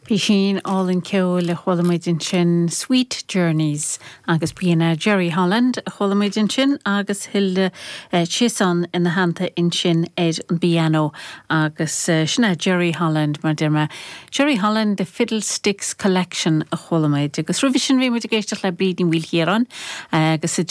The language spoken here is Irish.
Písín álainn ceoil a chuala muid ansin, Sweet Journeys, agus b'in é Jerry Holland a chuala muid ansin agus Hilda Chiasson ina theannta ansin ar an bpianó agus sin é Jerry Holland mar deir mé. Jerry Holland, The Fiddlesticks Collection a chuala muid agus roimhe sin bhí muid ag éisteacht le Bríd Ní Mhaoilchiaráin agus a.